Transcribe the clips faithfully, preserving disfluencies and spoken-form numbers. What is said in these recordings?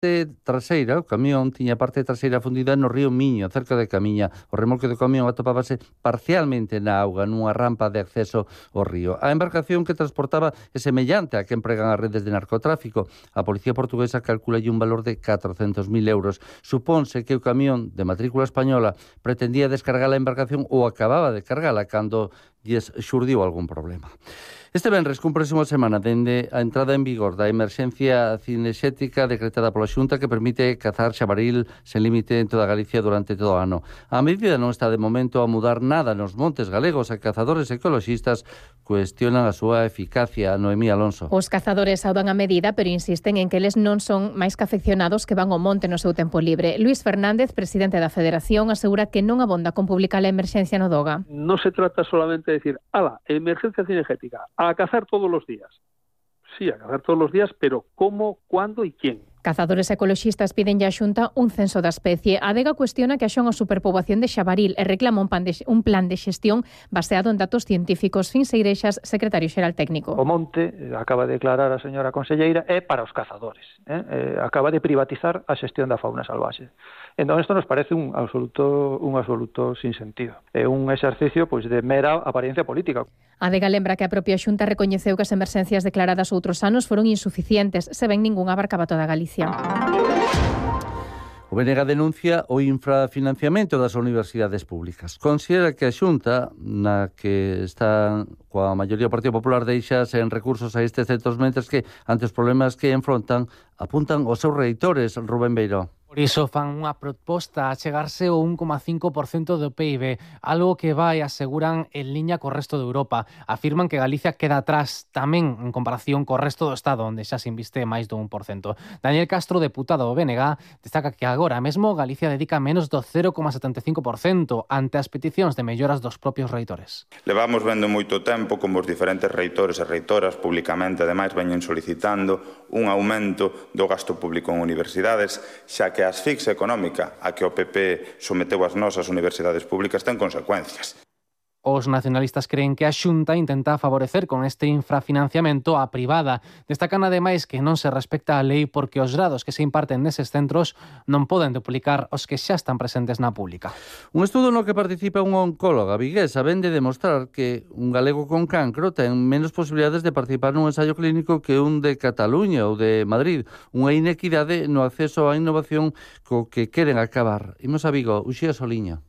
traseira, o camión tiña parte traseira fundida no río Miño, cerca de Camiña. O remolque do camión atopábase parcialmente na auga, nunha rampa de acceso ao río. A embarcación que transportaba é semellante a que empregan as redes de narcotráfico. A policía portuguesa calcula un valor de catrocentos mil euros. Supónse que o camión de matrícula española pretendía descargar a embarcación ou acababa de cargala cando lles xurdiu algún problema. Este venres cúmprese unha semana dende a entrada en vigor da emerxencia cinexética decretada pola Xunta que permite cazar xabaril sen límite en toda Galicia durante todo o ano. A medida non está de momento a mudar nada nos montes galegos e cazadores ecoloxistas cuestionan a súa eficacia. Noemí Alonso. Os cazadores saudan a medida, pero insisten en que eles non son máis que afeccionados que van ao monte no seu tempo libre. Luís Fernández, presidente da Federación, asegura que non abonda con publicar a emerxencia no Doga. Non se trata solamente de decir, ala, emerxencia cinegética, a cazar todos los días. Sí, a cazar todos los días, pero ¿cómo, cuándo y quién? Cazadores ecoloxistas piden a Xunta un censo da especie. A Adega cuestiona que haxa unha superpoboación de xabaril e reclama un plan de, un plan de xestión baseado en datos científicos. Fins Seireixas, secretario xeral técnico. O monte, acaba de declarar a señora conselleira, é para os cazadores. Eh? Eh, acaba de privatizar a xestión da fauna salvaxe. Entón, isto nos parece un absoluto, un absoluto sinsentido. É un exercicio pois, de mera apariencia política. A Adega lembra que a propia Xunta recoñeceu que as emerxencias declaradas outros anos foron insuficientes, se ben ningún abarcaba toda Galicia. O B N G denuncia o infrafinanciamento das universidades públicas. Considera que a Xunta, na que está coa maioría do Partido Popular, deixa sen recursos a estes centros, mentres que, ante os problemas que enfrontan, apuntan os seus reitores. Rubén Beiró. Por iso fan unha proposta a chegarse ao un coma cinco por cento do P I B, algo que vai, aseguran, en liña co resto de Europa. Afirman que Galicia queda atrás tamén en comparación co resto do Estado, onde xa se inviste máis do un por cento. Daniel Castro, deputado do B N G, destaca que agora mesmo Galicia dedica menos do cero coma setenta e cinco por cento ante as peticións de melloras dos propios reitores. Levamos vendo moito tempo como os diferentes reitores e reitoras públicamente, ademais, veñen solicitando un aumento do gasto público en universidades, xa que que a asfixia económica a que o P P someteu as nosas universidades públicas ten consecuencias. Os nacionalistas creen que a Xunta intenta favorecer con este infrafinanciamento a privada. Destacan ademais que non se respecta a lei porque os grados que se imparten neses centros non poden duplicar os que xa están presentes na pública. Un estudo no que participa unha oncóloga viguesa vén de demostrar que un galego con cancro ten menos posibilidades de participar nun ensaio clínico que un de Cataluña ou de Madrid. Unha inequidade no acceso á innovación co que queren acabar. Imos a Vigo, Uxía Soliña.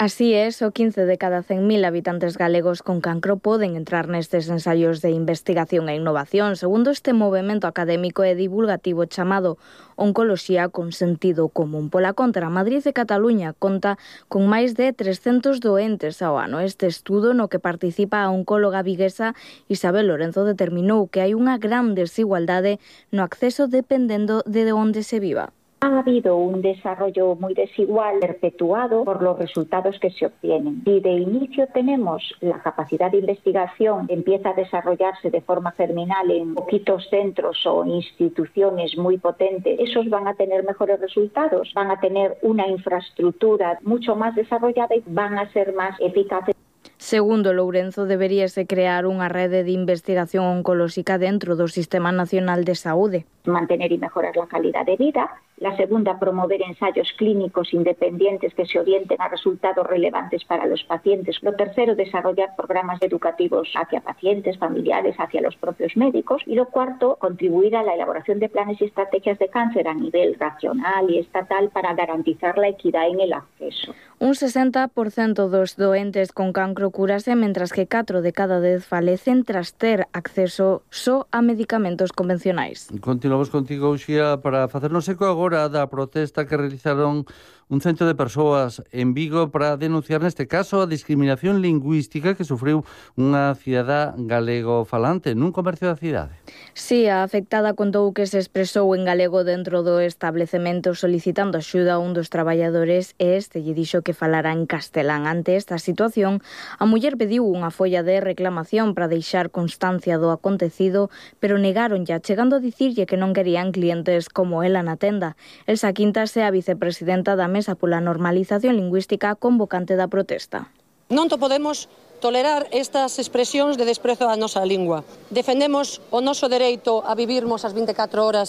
Así é, só quince de cada cen mil habitantes galegos con cancro poden entrar nestes ensaios de investigación e innovación, segundo este movemento académico e divulgativo chamado Oncoloxía con Sentido Común. Pola contra, Madrid e Cataluña conta con máis de trescentos doentes ao ano. Este estudo, no que participa a oncóloga viguesa Isabel Lorenzo, determinou que hai unha gran desigualdade no acceso dependendo de onde se viva. Ha habido un desarrollo muy desigual perpetuado por los resultados que se obtienen. Si de inicio tenemos la capacidad de investigación empieza a desarrollarse de forma germinal en poquitos centros o instituciones muy potentes, esos van a tener mejores resultados, van a tener una infraestructura mucho más desarrollada y van a ser más eficaces. Segundo Lourenzo, deberíase crear unha rede de investigación oncolóxica dentro do Sistema Nacional de Saúde. Mantener y mejorar la calidad de vida. La segunda, promover ensayos clínicos independientes que se orienten a resultados relevantes para los pacientes. Lo tercero, desarrollar programas educativos hacia pacientes, familiares, hacia los propios médicos. Y lo cuarto, contribuir a la elaboración de planes y estrategias de cáncer a nivel nacional y estatal para garantizar la equidad en el acceso. Un sesenta por cento dos doentes con cancro curase, mentras que catro de cada dez falecen tras ter acceso só a medicamentos convencionais. Continuamos contigo, Uxía, para facernos eco agora da protesta que realizaron un cento de persoas en Vigo para denunciar neste caso a discriminación lingüística que sufriu unha cidadá galego falante nun comercio da cidade. Si, a afectada contou que se expresou en galego dentro do establecemento solicitando axuda a un dos traballadores e este lle dixo que falara en castelán. Ante esta situación, a muller pediu unha folla de reclamación para deixar constancia do acontecido, pero negaronlle, chegando a dicirlle que non querían clientes como ela na tenda. Elsa Quintas é a vicepresidenta da Mesa pola Normalización Lingüística convocante da protesta. Non to podemos tolerar estas expresións de desprezo á nosa lingua. Defendemos o noso dereito a vivirmos as vinte e catro horas